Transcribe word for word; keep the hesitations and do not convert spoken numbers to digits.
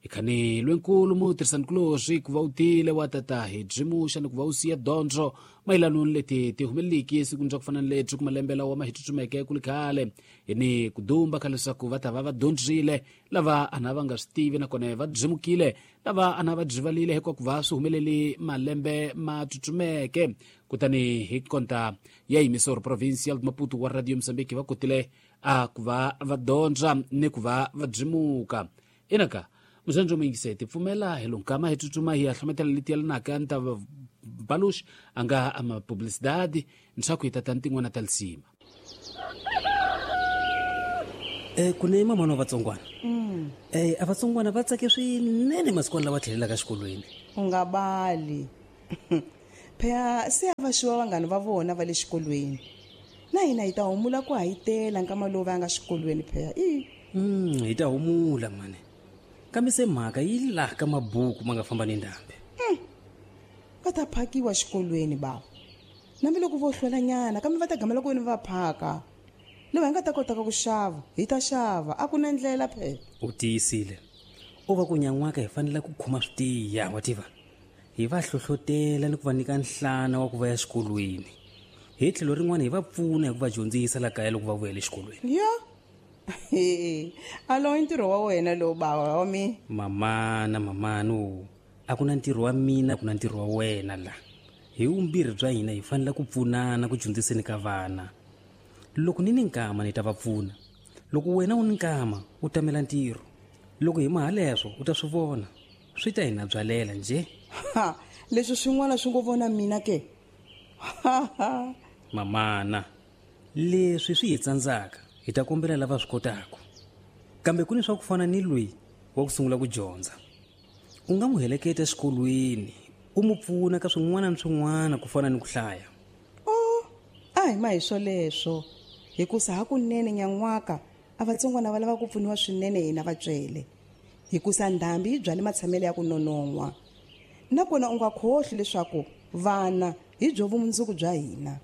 Ikhani lwenkulu mutirhisanikulorhi ku va u tile wa tata hi byimuxa ni ku va u siya dyondzo mayelano ni leti ti humeleliki esikwini bya ku fana ni lebyi ku malembe lawa ma hi tsutsumeke ku li khale hi ni ku dumba ka leswaku va ta va va dyondzile lava ana va nga swi tivi nakona va byimukile lava ana va byivalile hikuva ku va swi humeleli malembe ma tsutsumeke. Kutani hi konta ya Emisor Provincial Maputo wa Radio Mozambique va kotile a ku va va dyondza ni ku va va byimuka. Inaka muzandzo muyingiseti pfumela hi lonkama hi tsutsuma hi ya hlometela leti yelanaka ni ta Balush a nga ama publicidade leswaku hi tata ni tin'wana ta lisima. Eh ku ne mama wa vatsongwana. Eh a vatsongwana va tsake swinene masikwana lawa tlhelelaka xikolweni. U nga bali. Phela se a va xiwa vanghana va vona va le xikolweni. Na hina hi ta humula ku hayitela nkama lowu va nga xikolweni phela. I. Mm, hi ta humula mani. Kambe se mhaka yi laha ka mabuku ma nga famba ni ndhambi. Mm. Va ta phakiwa xikolweni bava. Nambi loko vo hlwelanyana kambe va ta gamela ku wena va phaka. Loko hi nga ta kota ku xava, hi ta xava, a ku na ndlela phela. U tiyisile. U va ku nyan'waka hi fanele ku khoma switiya, wa tiva. Hi va hlohlotela ni ku va nyika nhlana wa ku va ya xikolweni. Hi tlhelo rin'wana hi va pfuna hi ku va dyondzisa la kaya loko va vuyela exikolweni. Ya. Alo ntirho wa wena lowu bava wa mi. Mamana, mamano, a ku na ntirho wa mina, a ku na ntirho wa wena la. Hi vumbirhi bya hina hi fanele ku pfunana ku dyondziseni ka vana. Loko ni ni nkama ni ta va pfuna. Loko wena u ni nkama u tamela ntirho. Loko hi maha leswo u ta swi vona. Swi ta hina byalela nje. Ha, leswi swin'wana swi ngo vona mina ke. Ha ha. Mamana, leswi swi hi tsandzaka hi ta kombela lava swi kotaka. Kambe ku ni swa ku fana ni loyi wa ku sungula ku dyondza. U nga n'wi heleketa exikolweni, u n'wi pfuna ka swin'wana ni swin'wana ku fana ni ku hlaya. Oh, a hi ma hi swoleswo. Hikusa hakunene nyan'waka a vatsongwana va lava ku pfuniwa swinene hina vatswele. Hikusa ndhambi yi byale matshamelo ya ku nonon'hwa. Nakona u nga khohli leswaku vana hi byo vumundzuku bya hina.